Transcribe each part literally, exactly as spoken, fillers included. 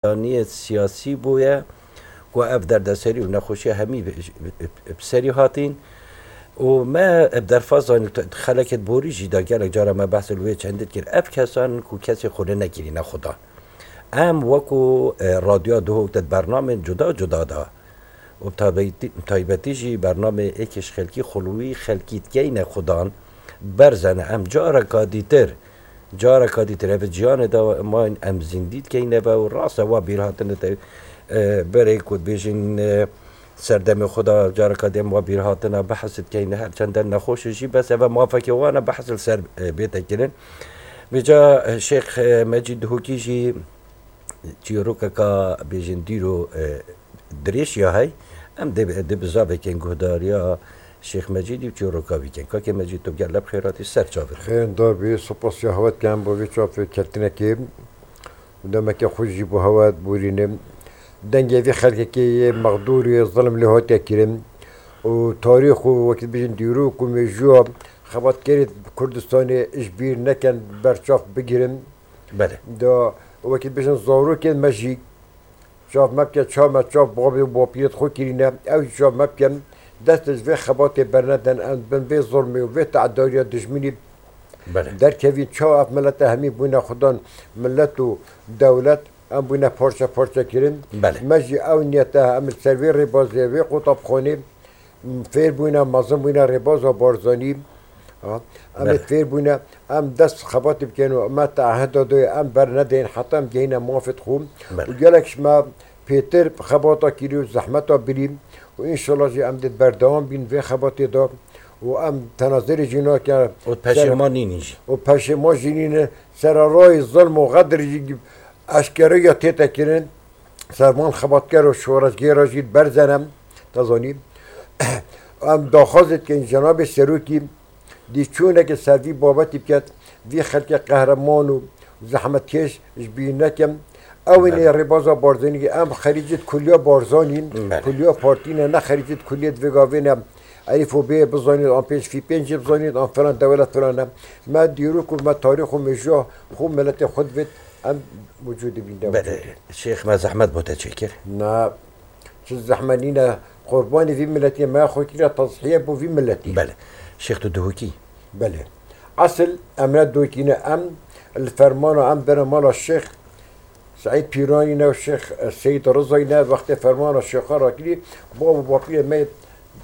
Yaniyê siyasî bûye ku ev derdeserî û nexweşiya hemî bi, bi, bi serî hatîn. Û me bi derfazan xelekê borî jî da gelek cara me behs li wê çendî kir. Ev kesan ku kesê xwe li nekirîne xudan. Em wekû, e, radyoya Duhok de bernamên cuda cuda da û bi taybetî, taybetî jî bernamê êkê ji xelkî xulwî xelkî dikeyne xudan berzene. Em careka dîtir Careka dîtir ev ciyanê de mayîn em zîndî dikeyne ve û rast e wa bîrhatine te, e, berê ku dibêjin, e, serdemê xwe de careka dî em wa bîrhatina behs dikeyne her çende nexweş e jî bes eve mafekê wan e behs li ser, e, bête kirin. Vêca, e, Şêx, e, Mecîd Duhokî jî çîrokeka bêjin dîro, e, dirêj ya hey. Em dê, dê bizavekên guhdariya Şêx Mecîdî û çîroka wî kin. Kakê Mecîd, tu gelek bi xêr hatî ser çavir. Xêrindar bî, spas ya hewe dikim bo vê çavketinekê. Demeke xweş jî bo hewe borînim. Dengê vê xelkekê yê mexdûrê zilm lê hatiye kirin. Û tarîx û wekî bêjin dîrok û mêjûya xebatkerê Kurdistanê ji bîr nekin, berçav bigirin. Belê. Da wekî bêjin zarokên me jî çav me bike, çav me, çav babê û bapîrê xwe kirîne, ew jî çav me bikin, dest ji vê xebatê bernedin, em bin vê zulmê û vê teedariya dijminî Belê. derkevîn. Çawa ev milete hemî bûne xudan, milet û dewlet, em bûne parçe parçe kirin. Belê. Me jî ew niyete, em li ser vê rêbazê, vê qutabxanê, fêr bûne, mezin bûne rêbaza Barzanî. Ha, em ê Belê. fêr bûne, em dest xebatê bikin û me teehida doye, em bernedeyên heta em gehîne mafê xwe. Belê. Û gelek ji me pêtir xebata kirî û zehmeta birî û înşallah jî em dê berdewam bîn vê xebatê de û em tenazirê jî nakin. Û peşêman nînin jî. Û peşêman jî nînin. Sererayê zilm û xedir jî eşkere ya tête kirin. Servan xebatker û şoreşgêra jî berzene, te zanî. Em daxwazê dikin cenabê serokî dî çûneke ser vî babetî biket, vî xelkê qehreman û zehmetkêş ji bîr nekin. Ew ê Belê. rêbaza Barzanî, em xerîcê di kuliya Barzanî, Belê. kuliya partî ne, ne xerîcê di kuliyê di vê gavê ne. Elîf û bê bizanît, an pênc fî pênc jê bizanît, an filan dewlet filan e. Me dîrok û me tarîx û mêjûya xwe miletê xwe divêt, em wicûdê bîn de Belê. wicûdê. Şêx me zehmet bo te çêkir. Na, çi zehmet nîne, qurbanê vî miletê me xwe kiriye tezhiye bo vî miletî. Belê. Şêx tu Duhokî. Belê. Esil em ne Duhokî ne, em li fermana em bere mala Şêx Seîd Pîranî ne û Şêx, e, Seyîd Rizayî ne, wextê fermana Şêxa rakirî, bab û bapîrê me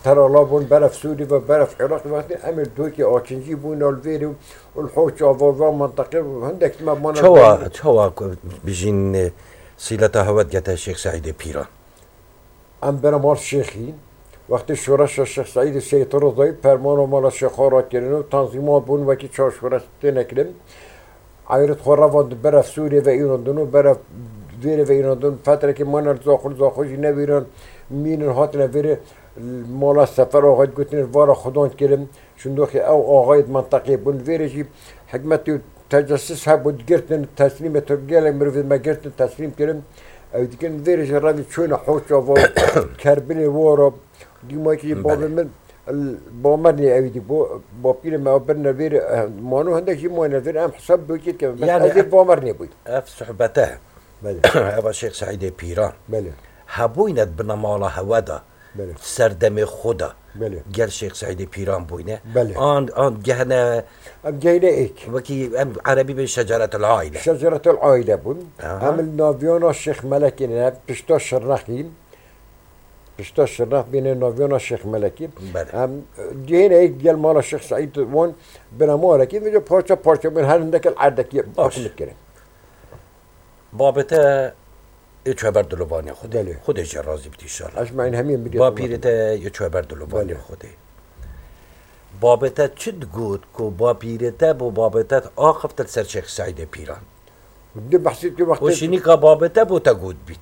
terala bûn, beref Sûrî ve beref Iraqî, wextê em ê Duhokê Akincî bûn, li vêrê û li Hoç ava ve menteqê hindek me mana Çawa, bûn. çawa ku bijîn, e, sîleta hewe digete Şêx Seîdê Pîran? Em bere mal Şêxî. Wextê şoreşa Şêx Seîdê Seyîd Rizayî, fermana mala Şêxa rakirin û tanzîmat bûn, wekî çar şoreş têne kirin. Eyret xwe revandin beref Sûriyê ve înandin û beref vêrê ve înandin. Fetrekê mane li Zaxo, li Zaxo jî nevîran mînin hatine vêrê mala Sefer Axayî digotinê vara xudan kirin. Şindoxê ew axayê di menteqeyê bûn. Vêrê jî hikmetê û tecessus hebû, digirtin, teslîmê tu gelek mirovê me girtin, teslîm kirin. Ew dikin vêrê jî revî çûne Hoç ava, Kerbilê wara. Dîmayekî jî Belê. babê min, Bamernê ew dî bû, bapîrê me ew birine vêrê, eh, mano hindek jî mayne vêrê, em hesab Duhokî dikin. Bes Yani ez ê ev, Bamernê bûyî. ev sohbete, Belê. eva Şêx Seîdê Pîran. Belê. Hebûyne di binemala hewe de, Belê. serdemê xwe de, Belê. gel Şêx Seîdê Pîran bûyne. Belê. An, an gehne Em gehîne êk. Wekî em erebî bê şeceretul aîle. Şeceretul aîle bûn. Aha. Em li naviyana Şêx Melekê ne, pişta Şirnexî. Pişta Şirnex bîne naviyana Şêx Melekî. Belê. Em, e, gehîne êk gel mala Şêx Seîd wan bine malekî, vêca parça parça bûn, her hindek li erdekî Baş. hikûmet kirin. Babê te yê çeber dilovanê Xwedê. Belê. Xwedê jê razî bit înşallah. Ecmaîn hemî bidê Bapîrê te yê çeber dilovanê Belê. Xwedê. Babê te çi digot ku bapîrê te bo babê te axifte li ser Şêx Seîdê Pîran? Di behsê tu wextê Û şinîka babê te bo te got bît.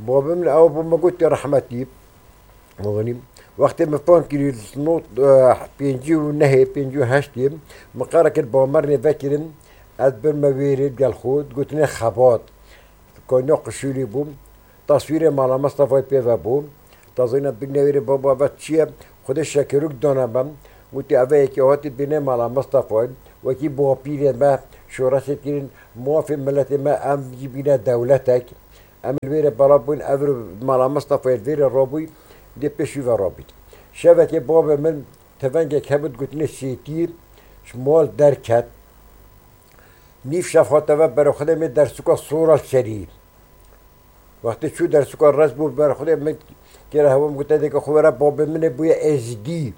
Babê min ew bo me got ya rehmetî. Anî, wextê min fam kirî not, eh, pêncî û nehê, pêncî û heştê, min qere kir Bamernê vekirin, ez birme wêrê gel xwe, digotinê xebat. Kayna qişûlî bû, taswîrê Mala Mistefayê pê ve bû. Tazîna bigine wêrê baba ve çi ye? Xwedê şekirûk dane me. Gotî, eve yekê hatî bîne Mala Mistefayê. Wekî bapîrê me şoreşê kirin, mafê miletê me em jî bîne dewletek. Em li vêrê bala bûn, ev mala Mistefayê li vêrê rabûy, dê pêş wî ve rabûy. Şevekê babê min tevengek hebû, gotinê Sêtî, ji mal derket. Nîv şev hate ve berê xwe de mê dersuka sora li serî. Wextê çû dersuka rest bû, berê xwe de min kêra hewa min gote, dêke xwe were, babê min ê bûye Êzidî.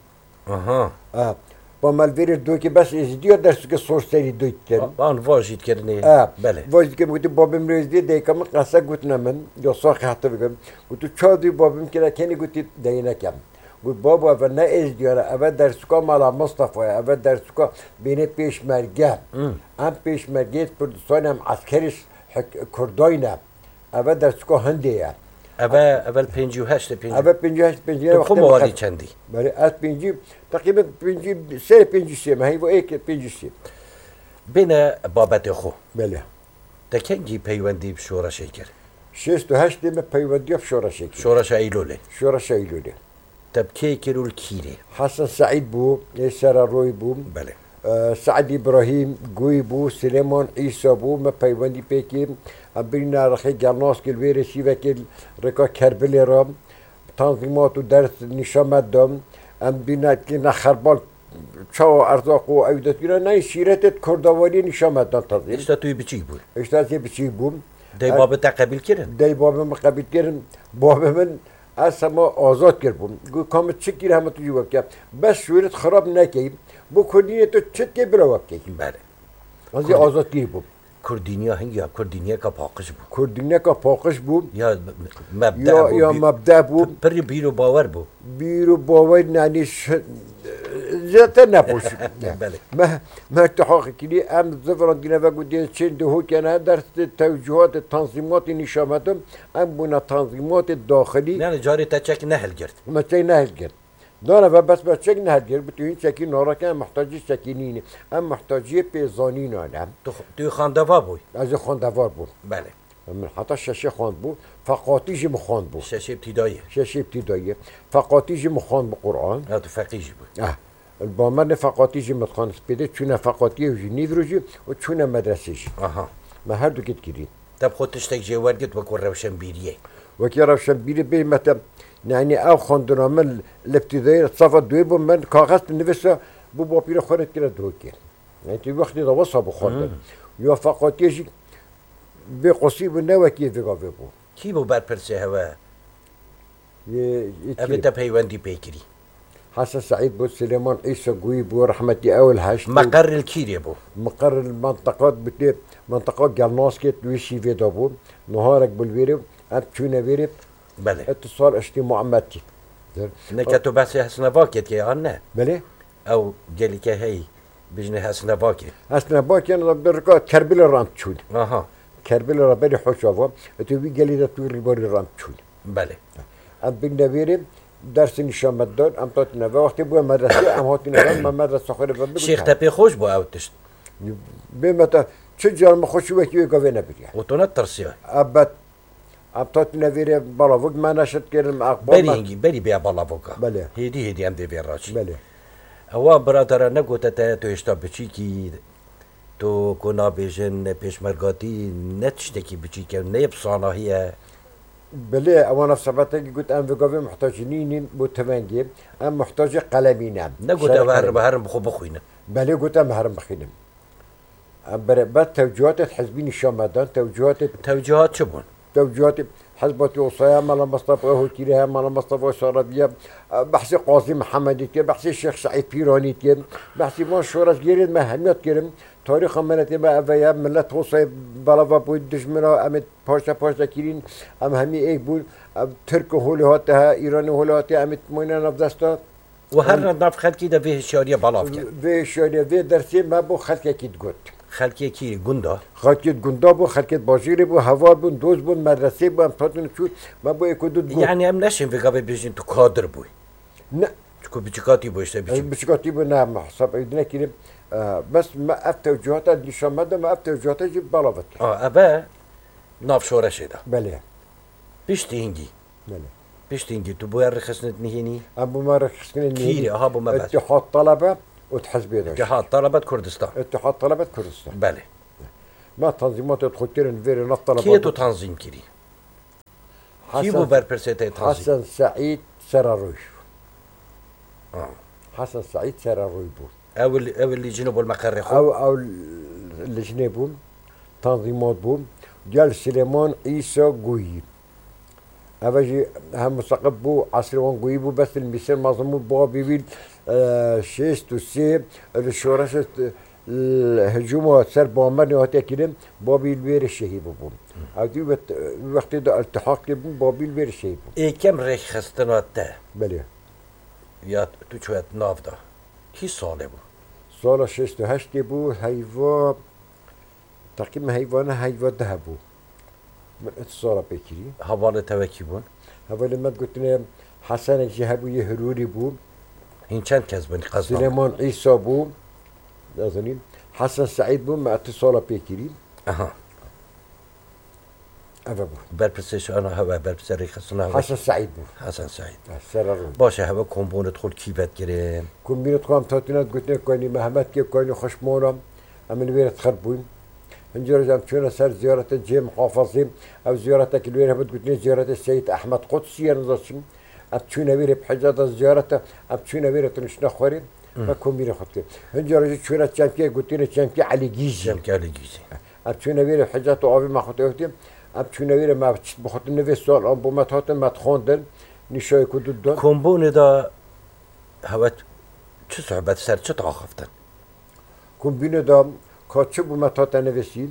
Aha. Ha. Ba me li vêrê dokê bes Êzidî ya dersuke sor serî doyt kirin. An va jî dikirinê. Ha. Belê. Va jî dikirin, gote, babê min Êzidî, dayika min qese gotine min, ya saxê hate bikim. Gotu, ça dû babê min kêra kenî, gote, deyî nekem. Got, babo, eve ne Êzidî ya, eve dersuka mala Mistefa ye, eve dersuka bênê pêşmerge. Hmm. Em pêşmergeyê Kurdistanê, em eskerê hik-, Kurdayne. Eve dersuka hindê ye. Eve, eve li pêncî û heşt e, pêncî. Eve pêncî û heşt, pêncî û heşt. Tu xwe wextê mewalî min qe-, çendî? Belê, ez pêncî, teqrîben pêncî, serê pêncî sê me, heyva êk pêncî sê. Bêne babetê xwe. Belê. Te kengî peywendî bi şoreşê kir? Şêst û heştê me peywendiya bi şoreşê kir. Şoreşa Eylûlê. Şoreşa Eylûlê. Te bi kê kir û li kî rê? Hesen Seîd bû, ê Sereroyê bû. Belê. E, Seîd Îbrahîm Gûyî bû, Silêman Îsa bû, me peywendî pê kir. Em birîne rexê Gelnaskê, li vê rê şîvekê li rêka Kerbilê re tanzîmat û ders nîşan me dan. Em birîne kî ne xerbal çawa erzaq û ew destgîra neyê şîretê di kurdawariyê nîşan me dan tazî. Hêşta tu yê biçîk bû. Hêşta ez ê biçîk bûm. Dayê babê te qebîl kirin? Dayê babê min qebîl kirin. Babê min ez hema azad kiribûm. Got, ka min çi kir hema tu jî wekî. Bes şûret xirab nekey. Bo kurdînê tu çi dikey bila wekî. Belê. Ez ê azad kirî bûm. Kurdîniya hingî ya, kurdîniyeka paqij bû. Kurdîniyeka paqij bû. Ya me-, mebde Ya, bû, ya bî-, mebde bû. Pi-, pirî bîr û bawer bû. Bîr û bawer, yanî ş-, zêdetir nebû. Belê. Me, me iltihaq kirî, em zivirandîne ve gotî çên dihokene, ders de tewcîhatê, tanzîmatê nîşan me din, em bûne tanzîmatê daxilî. Yani carê te çek nehilgirt. Me çek nehilgirt. Dana ve bes me çek nehilgirt, bi tu hîn çekî narake, em muhtacî çekî nîne. Em muhtaciyê pêzanînan e. Tu, tu xandeva bûy? Ez ê xandeva bûm. Belê. Min heta şeşê xwendibû, feqatî jî min xwendibû. Şeşê îbtîdayî. Şeşê îbtîdayî. Feqatî jî min xwendibû Quran. Ya tu feqî jî bû. Ah. Li Bamernê feqatî jî min dixwend. Spêdê çûne feqatiyê û jî nîvro jî û çûne medresê jî. Aha. Me her du kit kirî. Te bi xwe tiştek jê wergirt wekî rewşenbîriyê? Wekî rewşenbîrî bê me te, yanî ev xwendina min li îbtîdayê safa duê bû, min kaxez nivîsa, bû bapîrê xwe re kire dihokê. Yani tu wextê de wesa bû xwendin. Hmm. Ya feqatiyê jî bê qosî bû, ne wekî vê gavê bû. Kî bû berpirsê hewe? Yê, yê Evê kî? Te peywendî pê kirî? Hesen Seîd bû, Silêman Îsa Gûyî bû, rehmetî ew li heşt bû. Meqer li kîrê bû? Meqer li menteqa, bi tê menteqa Gelnaskê, wî şîvê de bû. Niharek bû li vêrê, em çûne vêrê. Belê. Îtisal Eştî Muhammetî. Neke tu behsê Hesnevakê dikê an ne? Belê. Ew gelîke heyî, bijne Hesnevakê. Hesnevakê, em bi rika Kerbilê re em çûn. Aha. Kerbilê re berî Hoşava. Îtê wî gelî de tu rîbarî re em çûn. Belê. Em bin devêrê dersê nîşan me dan, em tatine ve wextê bûye medresê, em hatine ve me medresa xwe re ve bikin. Şêx te pê xweş bû ew tişt? Bê me te çi car me xweşî wekî wê gavê nebiriye. Û tu netirsiya? Ebet. Em tatine vêrê balavok me neşet kirin, me axbar Berî me. Hingî, berî bêya balavoka. Belê. Hêdî hêdî em dê vê raçî. Belê. Ewa biradara negote te, tu hêşta biçîkî, tu ku nabêjin pêşmergatî ne tiştekî biçîk e, ne yê bi sanahî ye. Belê, ewana sebetekî got, em vê gavê muhtacî nînin bo tivengê, em muhtacê qelemî ne. Negote em herin, herin bi xwe bixwînin. Belê, got em herin bixwînin. Em bere-, ber tewcîhatê hizbî nîşan me dan, tewcîhatê Tewcîhat çi bûn? Tewcîhatê Hizba Tî Osaya, Mela Mistefa Hokîrê heye, Mela Mistefa Şarabiye, behsê Qazî Mihemedî kir, behsê Şêx Seîd Pîranî kir, behsê van şoreşgerên me hemiya kirin. Tarîxa miletê me eve ye, milet Hosayê belava bû, dijmira em ê parçe parçe kirîn, em hemî êk bûn, em Tirk û holê hate he, Îranê holê hate, em ê moyne nav desta. Û her Em nav xelkî de vê hişyariya belav kir. Vê hişyariya, vê dersê me bo xelkekî digot. Xelkê kî? Gunda? Xelkê gunda bû, xelkê bajêrê bû, heval bûn, dost bûn, medresê bû, em hatin çûn, me bo êk û du digot. Yani em neşên vê gavê bêjin tu kadir bûy. Ne. Çiku biçikatî bû işte, biçik. Biçikatî bû, ne, me hesab ew dine kirim. E, bes me ev tewcihata nîşan me de, me ev tewcihata jî belav kir. A, eve nav şoreşê de. Belê. Piştî hingî. Belê. Piştî hingî tu bûye rêxistinê nihênî? Em bûme rêxistinê nihênî. Kîrê, aha, bûme ber. Îtîhat Talebe û di hizbê de. Îtîhat Talebe di Kurdistan. Îtîhat Talebe di Kurdistan. Belê. Me tanzîmatê xwe kirin vêrê nav taleba. Kê tu tanzîm kirî? Kî bû berpirsê te tanzîm? Hesen Seîd Serarûy. Ha. Hesen Seîd Serarûy bû. Ew li, ew li cînê bol meqerê xwe? Ew, ew li cînê bû, tanzîmat bû. Gel Silêman Îsa Guyî. Ev jî hem museqib bû, esrê wan Guyî bû, bes li Mîsir mezin bû, babî wî, e, şêst û sê li şoreşê, e, hicûma ser Bamernê hatiye kirin, babî li wêrê şehîd bûbû. Ew dî wet-, wextê de iltihaq kiribû, babî li wêrê şehîd bû. Êkem rêkxistina te Belê. ya tu çûye nav da, kî salê bû? Sala şêst û heştê bû, heyva, teqrîben heyvana heyva deh bû. Min ev sala pê kirî. Hevalê te wekî bûn? Hevalê me gotine Hesenek jî hebû, yê Hirûrî bû. Hîn çend kes bûn? Qezdan. Silêman Îsa bû. Nazanim. Hesen Seîd bû, me ev sala pê kirî. Aha. Eve bû. Berpirsê şana hewe, berpirsê rêxistina hewe. Hesen Seîd bû. Hesen Seîd. Ha, Serarû. Baş e, hewe kombûnê xwe kî vetkirin? Kombûnê xwe em tatîna gotine kanî Mehmet ke kanî xweş mona. Em li wê re xir bûn. Hincê roj em çûne ser ziyarete cihê muhafazê. Ev ziyaretek li wê re hebû gotine ziyarete Seyîd Ehmed Qudsî ye, nizaçim. Em çûne wê re bi hicata ziyarete, em çûne wê re tuniştine xwarê. Hmm. Me kombînê xwe dikir. Hincê rojê çûne çemkê gotine çemkê Elî Gîzî. Çemkê Elî Gîzî. Em çûne wê re hicata avê me xwe dewtî. Em çûne wê re me çit bixwetine vê sal an bo me hatin me dixwandin. Nîşayê ku du don. Kombûnê de hewe çi sohbet ser çi daxiftin? Kombînê de ka çi bû me hate nivîsîn,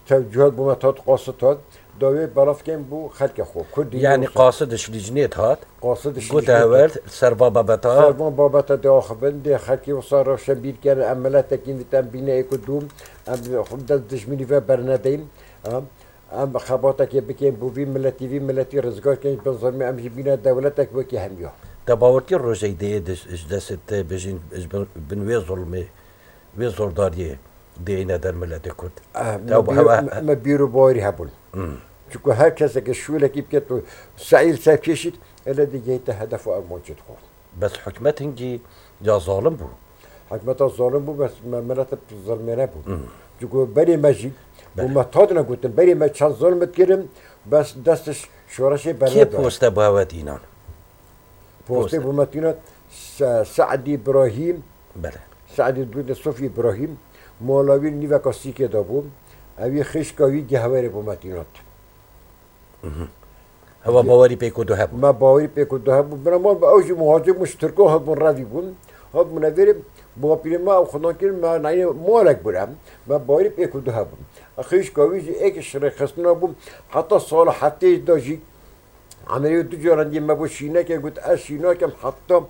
tewcûhat bû me hat, qasid hat, dawê belavkên bû xelkê xwe. Kurdî Yanî yoksa qasid ji lîcnê hat, qasid ji gote lîcnê hewer hat. Serva babeta. Servan babeta de axivin, dê xelkê wisa rewşenbîr kerin, em miletekî nît, em bîne êk û dû, em xwe dest dijminî ve bernedeyin. Em, em xebatekê bikin, bo vî miletî, vî miletî rizgar kin, bin zilmê em jî bîne dewletek wekî hemiya. Te bawer kir rojek dê ji destê te bijîn, ji bin, bin wê zilmê, wê zordariyê dê êne der miletê Kurd? Eh, Te me bîr-, hewe me, me bîr û bawerî hebûn. Hmm. Çunku her keseke şûlekî biket û seîl serkêşît, ele digihîte hedef û armancê dixwar. Bes hikûmet hingî ya zalim bû. Hikûmeta zalim bû, bes me, milete zilmê nebû. Hmm. Çunku berê me jî, Belê. bû me tadine gotin, berê me çend zilm dikirin, bes destiş şoreşê Kê bernedar. poste bû hewe tînan? Postê Poste. bû me tîna Se-, Se'dî Îbrahîm, Belê. Se'dî Dûdê Sofî Îbrahîm, mola wî nîveka sîkê de bû. Ew yê xêşka wî gehwerê bû me tînat. Mhm. Hewa Ge- bawerî pêk û du hebû. Me bawerî pêk û du hebû. Bira mal ew jî muhacir bû, ji Tirkan hebûn, revî bûn. Hebûne vêrê bapîrê me ew xwedan kirin, me nayê molek bûn em. Me bawerî pêk û du hebûn. Xêşka wî jî êk ji rêxistina bû. Heta sala heftê de jî Emerî du caran dî me bû şîneke, got, ez şînakem heta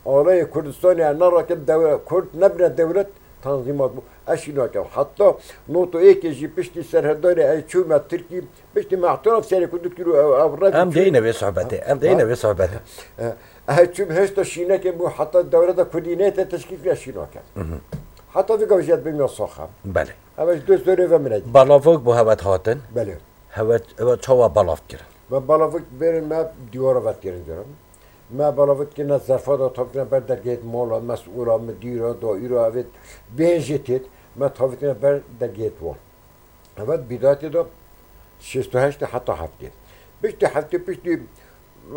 alayê Kurdistanê ez nerakim, dewe-, Kurd nebine dewlet, tanzîmat bû. Ez şînakem. Heta not û êkê jî piştî serhildanê ez çûme Tirkî, piştî me îtiraf serê Kurd kir û ew, ew revî Em çû. deyne vê sohbetê, em deyne Ha? vê sohbetê. E, ez çûm hêşta şîneke bû, heta dewleta Kurdî neyte teşkîl kir, ez şînakem. Mhm. Heta vê gavê jî ez bim ya sax e. Belê. Ev ji dost dorê ve min e. Balavok bû hewe hatin. Belê. Hewe, hewe çawa balav kirin? Me balavik bêrin me dîwara vetkirin kirin. Me balavik kirine zerfa da tavitine ber dergehêt mala, mesûla, midîra, daîra, evêt bêhên jê têt. Me tavitine ber dergehêt wan. Evet, bîdayetê de şêst û heştê heta heftê. Piştî heftê, piştî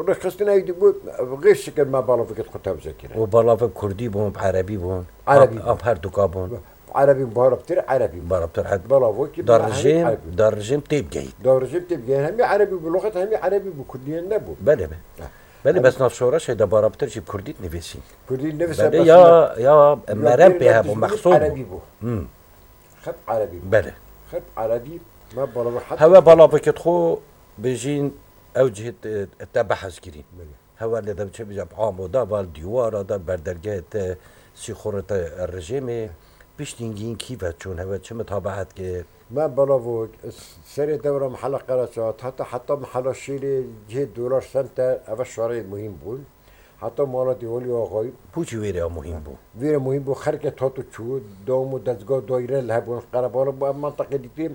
rêxistina êdî bû, xêr şikir me balavikêt xwe tewze kirin. Û balavik kurdî bûn, erebî bûn? Erebî Ab, bûn. ab her duka bûn. Erebî bû, barabtir erebî bû. Barabtir erebî. Balavokî Da bû, hemî rejîm, erebî bû. da rejîm têp gehît. Da rejîm têp gehît. Hemî erebî bû, loxet hemî erebî bû, kurdî nebû. Belê be. Ha. Belê, Hemî bes nav şoreşê de barabtir jî kurdî nivîsîn. Kurdî nivîse Belê bes ya, nav ya, ya merem pê hebû, mexsûr bû. Erebî bû. Hmm. Xet erebî bû. Belê. Xet erebî, me balavi heta Hewe balavikêt xwe bijîn ew cihê te, te behs kirîn. Belê. Hewe lê de çi bije, bi amoda ve, li dîwara de, ber dergehê te, sîxurê te rejêmê, piştî hingî kî ve çûn, hewe çi mitabeet kir? Me balavo, serê dewra mehela Qereçat, heta, heta mehela Şêlê, cihê Dolar Center, eve şarê muhîm bûn. Heta mala Dîwalî Axayî. Pûçî wêrê ya muhîm bû. Vêrê muhîm bû, xelkê tat û çû, dewam û dezgah daîre li hebûn, qerebala bû, ev menteqê dîtî,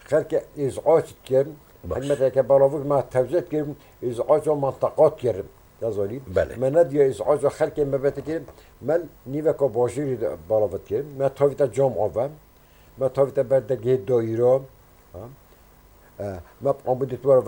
xelkê îzac dikin. Baş. Hikmeteke balavik me tewze dikin, îzaca menteqa dikirin. Ya zanî. Belê. Me nediya îzaca xelkê me vete kirin, me nîveka bajêrî de balavit kirin. Me tavîte cam ave, me tavîte ber dergehê daîra. Ha? E, me bi amûdê dîwara ve